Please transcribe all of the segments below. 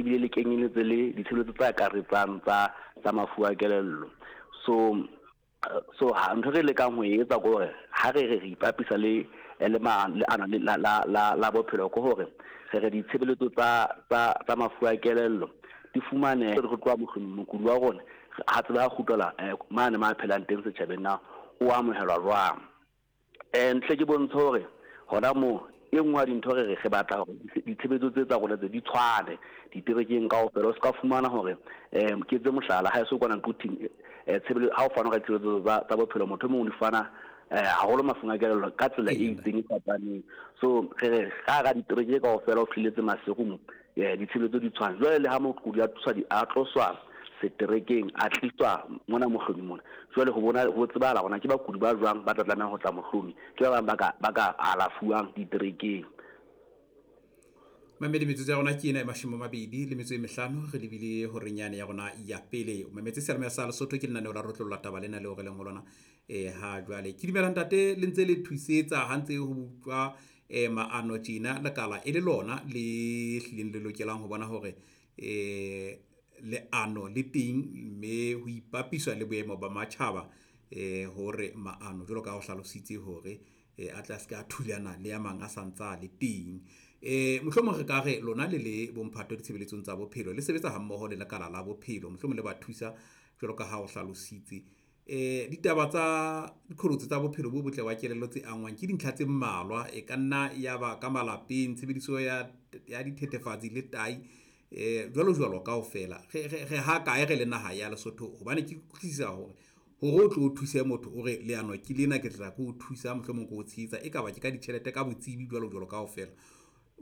ebile le kenyeletse le ditshebeletso tse akaretsang tsa tsa mafu a kelello. So so ha ntho re lekang ho e etsa ke hore ha re re re ipapisa le le leano la la la la bophelo ke hore re re ditshebeletso tsa tsa tsa mafu a kelello di fumane re tloha mohlomong mokudi wa rona ha tseba ha kgutlela mane ma phelang teng setjhabeng na o amohelwa jwang. Ntle ke bontshe hore hona moo e nngwe ya dintho re re re batla hore ditshebetso tse tsa rona tse di tshwane diterekeng kaofela. O se ka fumana hore ke etse mohlala ha eso kwana Quthing tshebeletso ha o fana ka ditshebeletso tsa tsa bophelo motho e mong o di fana haholo mafung a kelello ka tsela e itseng e fapaneng. So re re ka hara ditereke kaofela o fihlelletse Maseru mo ditshebeletso di tshwane. Jwale le ha mokudi a tloswa a tloswa seterekeng a tliswa mona Mohlomi mona, jwale ho bona ho tsebahala hore na ke bakudi ba jwang ba tla tlameha ho tla Mohlomi, ke ba bang ba ka ba ka alafuwang diterekeng. Mamedi metsotso ya rona ke ena e 25 re lebile horeng yane ya rona ya pele. O mametse seyalemoya sa Lesotho ke lenaneo la Rotlolla Taba lena leo re leng ho lona ha jwale. Ke dumela ntate le ntse le thusetsa ha ntse ho utlwa maano tjena lekala e le lona le hlileng le lokelang ho bona hore leano le teng mme ho ipapiswa le boemo ba matjhaba hore maano jwalo ka ha o hlalositse hore a tla se ka thulana le a mang a santsa le teng. Mohlomong re ka re lona le le bomphato ditshebeletsong tsa bophelo le sebetsa hammoho le lekala la bophelo, mohlomong le ba thusa jwalo ka ha o hlalositse. Ditaba tsa diqholotso tsa bophelo bo botle ba kelello tse angwang ke dintlha tse mmalwa, e ka nna ya ba ka malapeng, tshebediso ya ya dithethefatsi le tai jwalo jwalo kaofela. Re ha kae re le naha ya Lesotho? Hobane ke utlwisisa hore hore o tlo o thuse motho o re leano ke lena ke tla ke o thusa mohlomong ke o tshehetsa, e ka ba ke ka ditjhelete ka botsebi jwalo jwalo kaofela.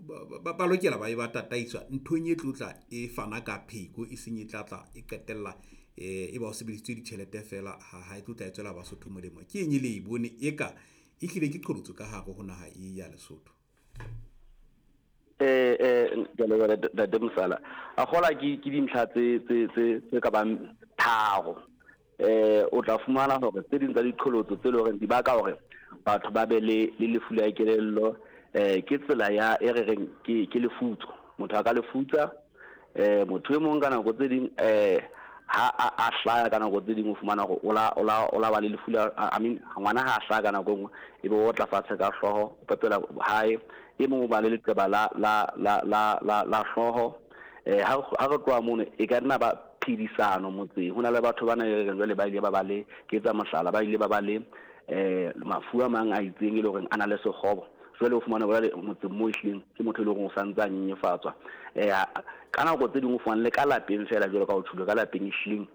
Ba lokela ba e ba tataiswa nthong e tlotla e fana ka pheko, e seng e tlatla e qetella e ba o sebedisitswe ditjhelete fela ha e tlotla e tswela Basotho molemo. Ke eng e le e bone eka e hlile ke qholotso ka hare ho naha e ya Lesotho? Ntate Mosala, a kgola ke dintlha tse tse tse tse ka bang tharo. O tla fumana hore tse ding tsa diqholotso tse leng hore di baka hore batho ba be le le lefu la kelello ke tsela ya e re reng ke lefutso. Motho a ka lefutsa motho e mong ka nako tse ding ha a hlaya ka nako tse ding o fumana hore o la o la o la ba le lefu la I mean ngwana ha a hlaya ka nako e nngwe e be o tla fatshe ka hlooho o pepela hae. E mong o ba le leqeba la la la la la la hlooho. Ha re tloha mono e ka nna ba phedisano motseng. Ho na le batho bana e reng jwale ba ile ba ba le, ke etsa mohlala, ba ile ba ba le mafu a mang a itseng e le horeng a na le sekgobo. Jwale o fumana jwale motseng moo ehlileng ke motho e leng hore o santse a nyenyefatswa. Ka nako tse ding o fumana le ka lapeng feela jwalo ka o tjholo ka lapeng ehlileng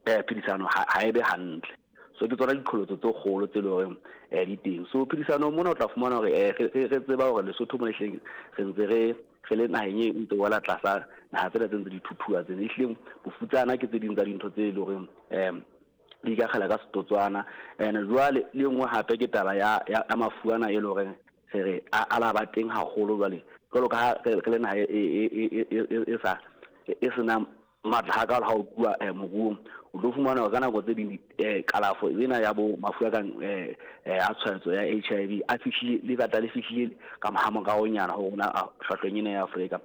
phedisano ha e be hantle. So ke tsona diqholotso tse kgolo tse leng hore di teng. So phedisano mona o tla fumana hore re tseba hore Lesotho mona ehlileng re ntse re re le naheng e ntse wela tlasa naha tsena tse ntse di thuthuwa tsena. Ehlileng bofutsana ke tse ding tsa dintho tse leng hore di ikakgela ka setotswana. And jwale le nngwe hape ke taba ya ya mafu ana e leng hore re re a la ba teng haholo jwale jwalo ka ha re le naha e sa e senang matla hakalo ha o tluwa moruong. O tlo fumana hore ka nako tse ding kalafo ena ya bo mafu a kang a tshwaetso ya HIV a fihlile le batla le fihlile ka hamoraonyana ho rona hlwahlweng ena ya Afrika,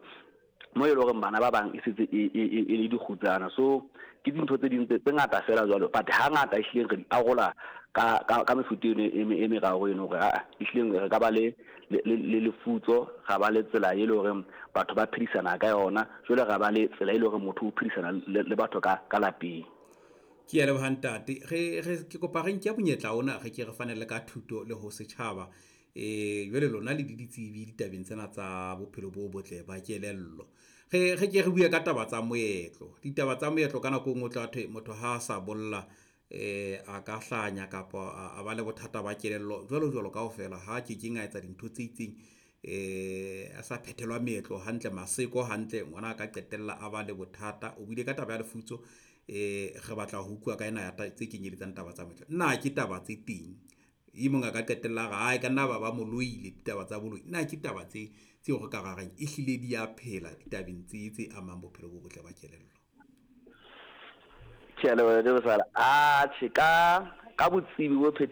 mo e leng hore bana ba bang e setse e le dikgutsana. So ke dintho tse ding tse ngata fela jwalo, but hangata ehlileng re di arola ka ka ka mefuta eno e meraro eno hore aa ehlileng re ka ba le le lefutso, ra ba le tsela e leng hore batho ba phedisana ka yona, jwale ra ba le tsela e leng hore motho o phedisana le batho ka ka lapeng. Ke a leboha ntate. Re re ke kopa re nke monyetla ona re ke re fane le ka thuto le ho setjhaba. Jwale lona le ditsebi ditabeng tsena tsa bophelo bo botle ba kelello. Re re ke re bue ka taba tsa moetlo. Ditaba tsa moetlo ka nako e nngwe o tla thwe motho ha a sa bolla a ka hlanya kapa a ba le bothata ba kelello jwalo jwalo kaofela ha ke keng a etsa dintho tse itseng a sa phethelwa meetlo hantle, maseko hantle, ngwana a ka qetella a ba le bothata. O buile ka taba ya lefutso, re batla ho utlwa ka ena ya tse kenyeletsang taba tsa moetlo. Na ke taba tse teng? E mong a ka qetella a re ae ka nna ba ba mo loile ditaba tsa boloi. Na ke taba tse tseo re ka ra reng ehlile di a phela ditabeng tse tse amang bophelo bo botle ba kelello? Ke a leboha Ntate Mosala. Atjhe, ka ka botsebi bo.